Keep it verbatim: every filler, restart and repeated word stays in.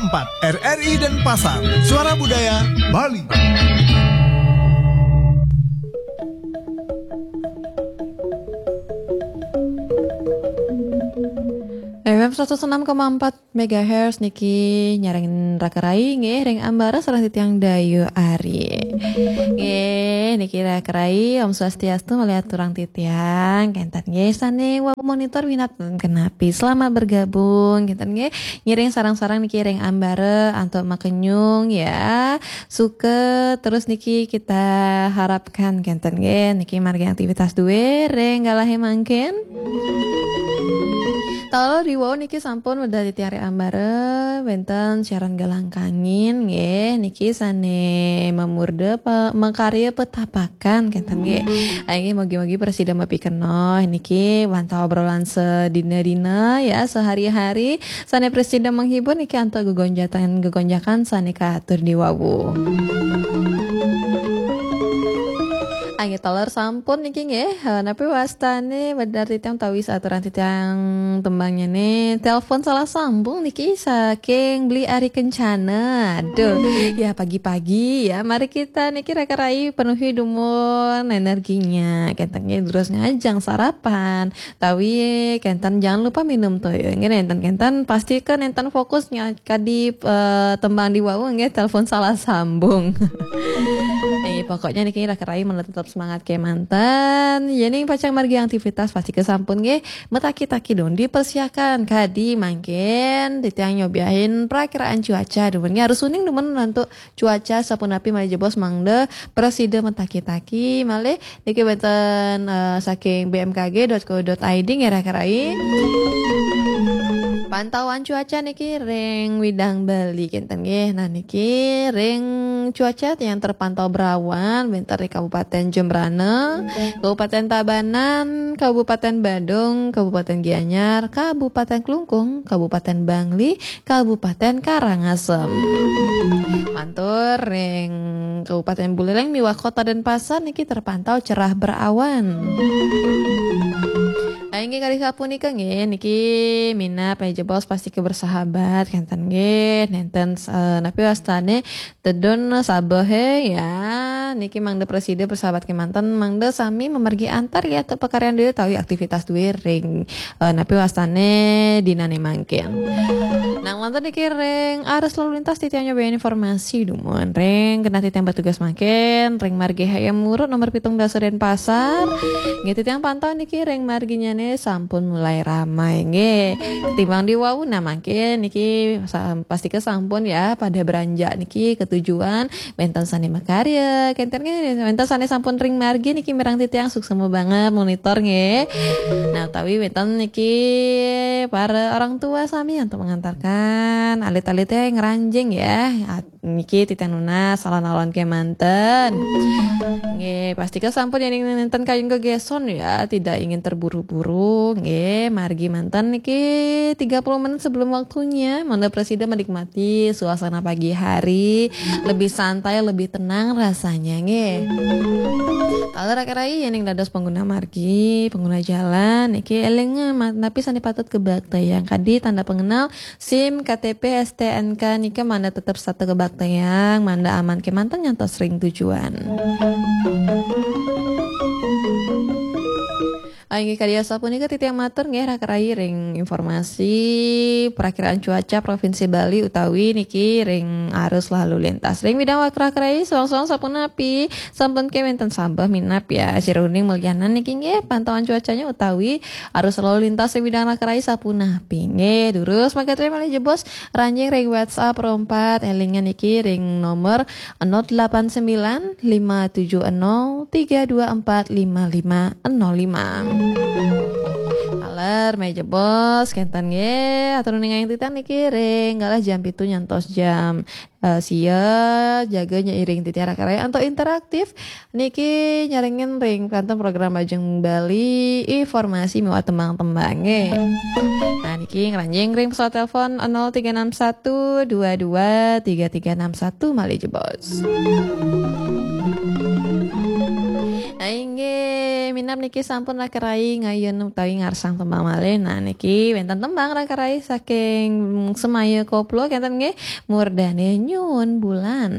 empat R R I Denpasar, Suara Budaya Bali. F M seratus enam koma empat megahertz niki nyarengin raka rai nggih ring ambara sareng titiang Dayu Ari. Nggih, niki raka rai Om Swastiastu malih aturang titiang. Kenten nggih sane wau monitor minat kenapi. Selamat bergabung kenten nggih. Ngiring sareng-sareng niki ring ambara antuk makenyung ya. Suka terus niki kita harapkan kenten nggih. Niki margi aktivitas duwe ring galahe mangkin. Taler diwau niki sampun medal titiang ring ambara wenten siaran galang kangin nggih niki sane mamurda pa, makarya petapakan kenten nggih. Ayo nggih mugi-mugi prasida mapikenoh niki wantah obrolan sedina-dina ya sehari-hari sane prasida menghibur niki antuk gegonjakan-gegonjakan sane katur diwau. Ayo taler sampun niki nggih. Eh, napi wastane medal titiang tawis aturan titiang tembangnya nih. Telepon salah sambung niki saking Beli Ari Kencana. Aduh, ya pagi-pagi ya. Mari kita niki raka rai penuhi dumun energinya. Kenten nggih terus ngajeng sarapan. Tawi kenten jangan lupa minum toya. Nggih nenten kenten pastikan nenten fokusnya kadi eh, tembang diwau nggih telepon salah sambung. Eh, pokoknya niki raka rai mula tetap semangat kemanten. Yening pacang margi aktivitas pasti kesampun nggih. Metaki-taki dong dipersiakan kadi mangkin titiang nyobiahin perakiraan cuaca dumun nggih harus uning dumun untuk cuaca sapunapi malih jebos mangda prasida metaki-taki malih niki wenten eh, saking B M K G dot co dot I D nggih raka rai. Pantauan cuaca niki ring Widang Bali kenten nggih. Nah niki ring cuaca yang terpantau berawan wenten ring Kabupaten Jembrana, Kabupaten Tabanan, Kabupaten Badung, Kabupaten Gianyar, Kabupaten Klungkung, Kabupaten Bangli, Kabupaten Karangasem. Mantur ring Kabupaten Buleleng miwah Kota Denpasar niki terpantau cerah berawan. Nah, inggih kali sapunika nggih niki minap ya jebos pasti kebersahabat kenten nggih nenten eh, napi wastane tedun sabehe ya niki mangda prasida bersahabat kemanten mangda sami memergi antar ya te pakaryan dulu tawi aktivitas duwe ring eh, napi wastane dinane mangkin. Nang manten niki ring arus lalu lintas titiang nyobiahin informasi dumun ring genah titiang bertugas mangkin ring margi Hayam Wuruk nomor pitung dasa Denpasar. Nggih titiang pantau niki ring marginyane sampun mulai ramai nggih. Ketimbang diwau nah mangkin niki sa- pasti kesampun ya pada beranjak niki ke tujuan wenten sane makarya kenten nggih wenten sane sampun ring margi niki mireng titiang suksema banget monitor nggih. Nah utawi wenten niki para orang tua sami untuk mengantarkan alit-alite ngranjing ya. At- niki titiang nunas alon-alon kemanten. Nggih pasti kesampun yang nenten kayun gegeson ya tidak ingin terburu-buru nggih margi manten niki tiga puluh menit sebelum waktunya mangda prasida menikmati suasana pagi hari lebih santai lebih tenang rasanya nggih. Taler raka rai yening dados pengguna margi, pengguna jalan niki eling ma- napi sane patut kebaktayang kadi tanda pengenal SIM, K T P, S T N K nika mangda tetep setata kebaktayang mangda aman kemanten nyantos ring tujuan. Inggih kadi asapunika titiang matur nggih raka rai ring informasi perakiraan cuaca Provinsi Bali utawi niki ring arus lalu lintas. Ring bidang raka rai soang-soang sapunapi sampun kewenten sambah minap ya. Siruning melianan niki nggih pantauan cuacanya utawi arus lalu lintas ring bidang raka rai sapunapi. Nggih, durus mangkatria malih jebos ranjing ring WhatsApp rompat elingan niki ring nomor nol delapan sembilan lima tujuh nol tiga dua empat lima lima nol lima. Aler meja bos kenten nggih atur ningayang titiang niki ring galah jam pitu nyantos jam eh, sia jaga nyeiring titiang raka rai antuk interaktif niki nyarengin ring kanten program Bajeng Bali informasi miwah tembang-tembang nggih. Nah niki ngranjing ring pesawat telepon nol tiga enam satu dua dua tiga tiga enam satu malih jebos. Nah, inggih. Minab niki sampun Raka Rai ngayun utawi ngarsang tembang malih. Nah, niki wénten tembang Raka Rai saking Semaya Koplo, kénten nggih, Murdane Nyuwun Bulan.